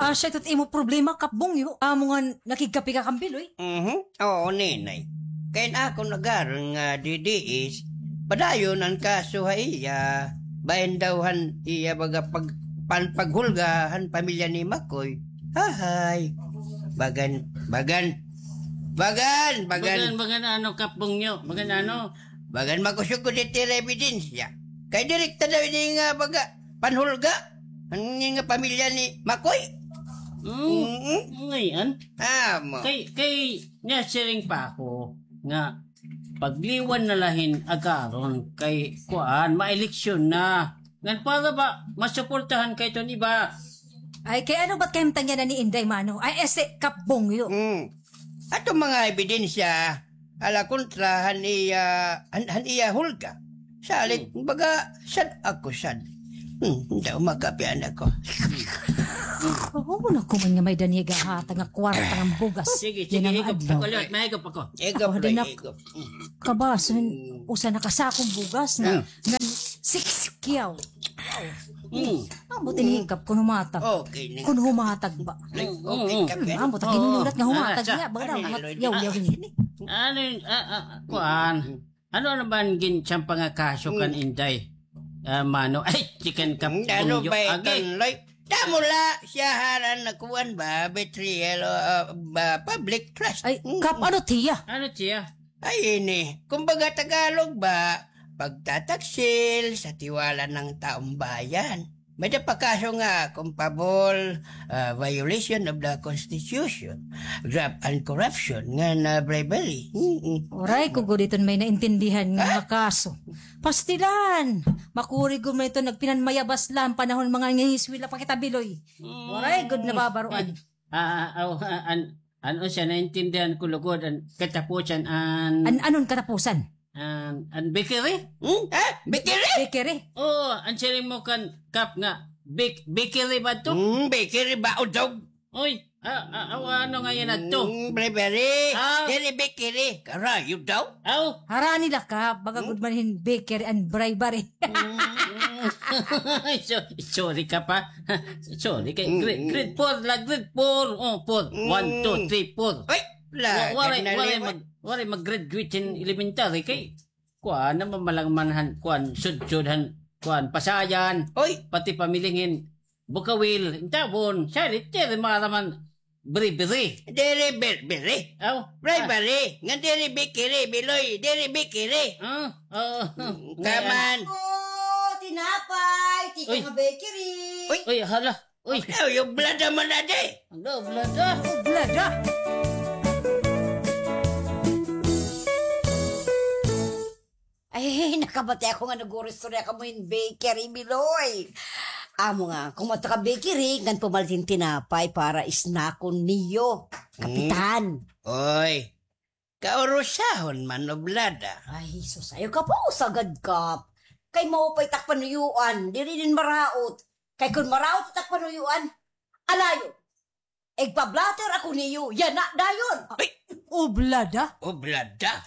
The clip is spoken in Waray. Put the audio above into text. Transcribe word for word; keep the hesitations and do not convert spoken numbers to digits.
Asya ito it imo problema, Kap Bungyo. Amo nga nakigkape ka kan Biloy. Mhm. Oo, Ninay. Kay an akon agaron nga D D S, padayon an kaso ha iya, bahin daw han iya baga pag-, pan-, paghulga han pamilya ni Makoy. Hahay. Bagan, bagan. Bagan, bagan. Bagan, bagan ano, Kap Bungyo? Bagan ano? Bagan makusog ko diti nga ebidensya. Kay direkta daw ini nga baga panhulga. An ini nga pamilya ni Makoy. Mm. Mm-mm. Ngay-an. Amo. Kay, kay, nasiring pa ako nga pagliwan na la hin agaron kay kuan, maeleksyon na. Ngan para ba masuportahan kay iton iba. Ay, kay ano ba't kahimtang yana ni Inday, mano? Ay, este, Kap Bungyo. Hmm. Aton mga ebidensya, ala kontra han iya, han, han iya hulga. Salit, hmm, baga, sad ako, sad. Hmm, daw makapian ako. Oo, naku man nga may Daniel gahatag nga kwarta nga bugas. Sige, sige, higop ako, liwat, mahigop ako. Higop, ako, Loy, higop. Kabasin, usa na ka sakong bugas na, hmm, na six kyaw. Wow. Hmm. Ambot ini hikap kun humatag. Okay ni. Kun humatag ba? Ay, okay ka, hmm, ambot, hmm, ginulat nga humatag niya, baga daw, yaw, yaw, ini. Ano yun? Ah, ah, kuan. Ano, ano ba an ginsampa nga kaso kan Inday? Ah, mano, ay, chicken cup. Hmm, ano ba ito, Loy? Damo la siya haran na kuan ba, betrayal, ah, ba, public trust. Ay, hmm, Kap, ano tiya? Ano tiya? Ay, ini. Kumbaga, Tagalog ba, pagtataksil sa tiwala ng taong bayan. May da pa kaso nga, culpable, ah, violation of the Constitution, graft and corruption, nga na bribery. Mm-mm. Waray ko gud iton may naintindihan nga, ha? Mga kaso. Pastilan! Makuri gud man ito nagpinanmayabas la han panahon mga nangingiskwela pa kita, Biloy. Mm. Waray gud nababaroan. Ah, ah, aw, ah, an, an, unsa, naintindihan ko lugod, an katapusan, an, an, anon katapusan? An, an bakery? Hmm? Ha? Bakery? Bakery? Oo, an siring mo kan Kap nga, bak-, bakery ba to? Hmm, bakery ba, udog? Oy, ah, ah, aw, ano nga yan ato? Hmm, bribery. Ah. Diri bakery. Karayo daw. Aw. Harani la ka, baga gud man hin bakery an bribery. Mm. So-, sorry ka pa. Sorry kay grade, grade four la, grade four. Oh, four. One, two, three, four. Ay, la, wa-, waray, waray mag-, waray mag-graduate hin elementary kay kuan na, mamalang man han, kuan, sudsod han, kuan, Pasayan. Oy. Pati pamiling hin Bukawil, intawon, salit, diri maraman bribery. Diri bribery. Aw. Bribery. Ngan diri bakery, Biloy, diri bakery. Ah, oo. Mm, kaman. Oh, tinapay, tikang bakery. Uy. Uy, hala. Uy. Ay, oblada man na di. Ano, oblada? Oblada. Ay, nakabati ako nga nag-uristorya kamo hin bakery, Biloy. Amo nga, kun madto ka bakery, ngan pumalit hin tinapay para snackon niyo, Kapitan. Oy, kaurusahon man, oblada. Ay, sus, ayaw ka pa usagad, Kap. Kay maupay it ak panuyuan, diri din maraot. Kay kun maraot it ak panuyuan, alayo. Igpa-blotter ako niyo, yana dayon. Ay! Oblada? Oblada?